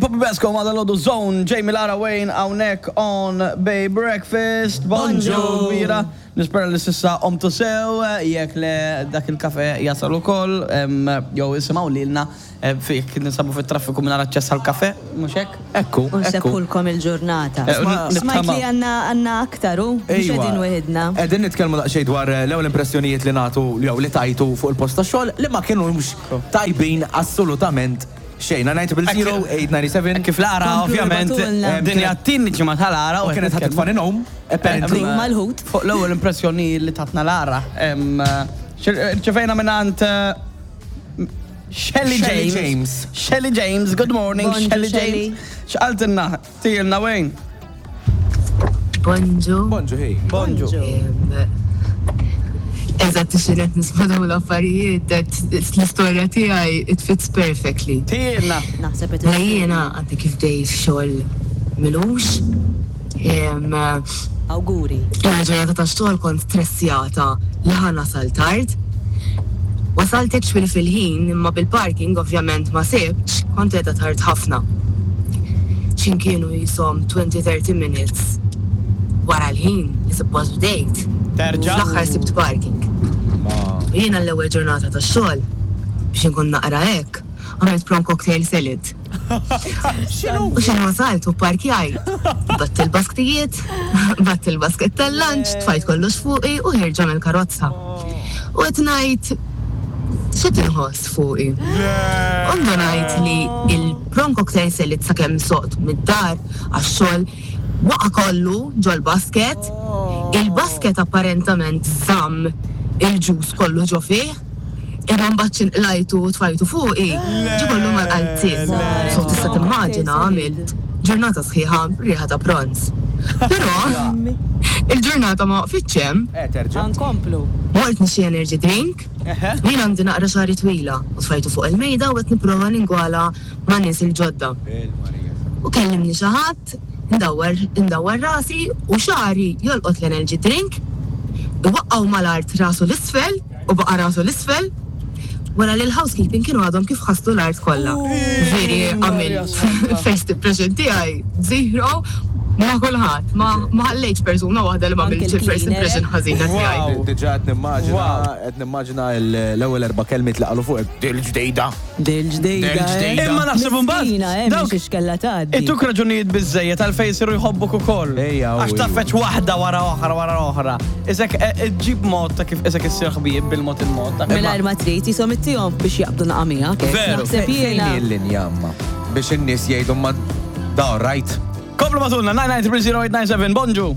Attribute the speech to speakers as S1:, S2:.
S1: Poppy Basco ma dal-ħodu Zone, Jamie Lara Wayne hawnhekk on Bay Breakfast. Bonġu kbira. Nispera li s'issa qomtu sew, jekk le dak il-kafe jasal ukoll, jew isimgħu lilna jekk ninsabu fit-traffiku mingħajr aċċess għall-kafe, mhux hekk?
S2: Ekku,
S3: U nsebbħulkom il-ġurnata. Smajt li għandna għandna aktar hu, mhux qegħdin weħidna.
S2: Qegħdin nitkellmu daqsxejn dwar l-ewwel impressjonijiet li nagħtu jew li tajtu fuq il-post tax-xogħol li ma kinux tajbin assolutament Xejn, 900 897.
S1: Kif l-ara, ovvjament, din hija t-tieni ġimgħa tal-ara.
S2: U kienet ħadd tfani nom, apparently.
S3: Mal-ħut.
S1: Fuq l-ewwel impressjoni li tatna l-ara. Ċefejna minn Shelly James. Shelly James, good morning, Shelly James. X'qaltilna? Tgħidilna Wayne.
S4: Bonġu.
S2: Bonġu, hey.
S1: Bonġu.
S4: Eżatt xi qed nisma' dawn l-affarijiet, that l-istorja tiegħi it fits perfectly.
S1: Tgħidilna.
S3: Naħseb qed
S4: Mela jiena għadni kif bdejt xogħol m'ilux.
S3: Awguri.
S4: L-ewwel ġurnata tax-xogħol kont stressjata li ħa nasal tard. Wasalt actually fil-ħin imma bil-parking ovvjament ma sibtx, kont qiegħda tard ħafna. X'in kienu qishom 20, 30 minutes wara l-ħin li suppost bdejt.
S1: Terġa'?
S4: Fl-aħħar sibt parking. U jiena l-ewwel ġurnata tax-xogħol, biex inkun naqra hekk, għamilt prawn cocktail salad. U x'in wasalt u pparkjajt, batt il-basktijiet, batt il-basket tal-lunch, tfajt kollox fuqi u ħierġa mill-karozza. U qed ngħid x'qed inħoss fuqi. U ndunajt li il-prawn cocktail salad sakemm soqt mid-dar għax-xogħol waqa' kollu ġol-basket, il-basket apparentament żamm il-ġus kollu ġo fih. Imma mbagħad xi nqlajtu u tfajtu fuqi, ġie kollu mal-qalziet. So tista' timmaġina għamilt ġurnata sħiħa riħa ta' bronz. Però il-ġurnata ma waqfitx hemm.
S2: Eh,
S3: Nkomplu.
S4: Mort nixtri energy drink, jien għandi naqra xagħri twila u tfajtu fuq il-mejda u qed nipprova ningwala ma' nies il-ġodda. U kellimni xi ħadd, indawwar indawwar rasi u xagħri jolqot l-energy drink, iwaqqgħu mal-art rasu 'l isfel. U baqa' rasu 'l isfel wara li l-housekeeping kienu għadhom kif ħaslu l-art kollha. Ġifieri għamilt first impression tiegħi zero ma' kulħadd. Ma ħallejtx persuna waħda li m'għamiltx il-first impression ħażina tiegħi.
S2: Diġà qed nimmaġina qed nimmaġina l-ewwel erba' kelmiet li qalu fuqek, dil-ġdida.
S3: Dil-ġdejda.
S1: Eh. Imma naħseb imbagħad.
S3: Miskina, eh,
S1: dawk
S3: mhix x'kellha tgħaddi.
S1: Ituk raġunijiet biżejjed għalfejn isiru jħobbuk ukoll.
S2: Ejja,
S1: Għax taffeċ waħda wara oħra wara oħra. Isek eh, ġib mod ta' kif isek issir ħbieb bil-mod il-mod.
S3: Mingħajr ma trid jisom ittihom biex jaqbdu naqa' miegħek. Eh.
S1: Veru.
S3: Naħseb jiena.
S2: Fejn l-linja amma biex in-nies jgħidu ma da right.
S1: Komplu matulna 9930897 bonġu.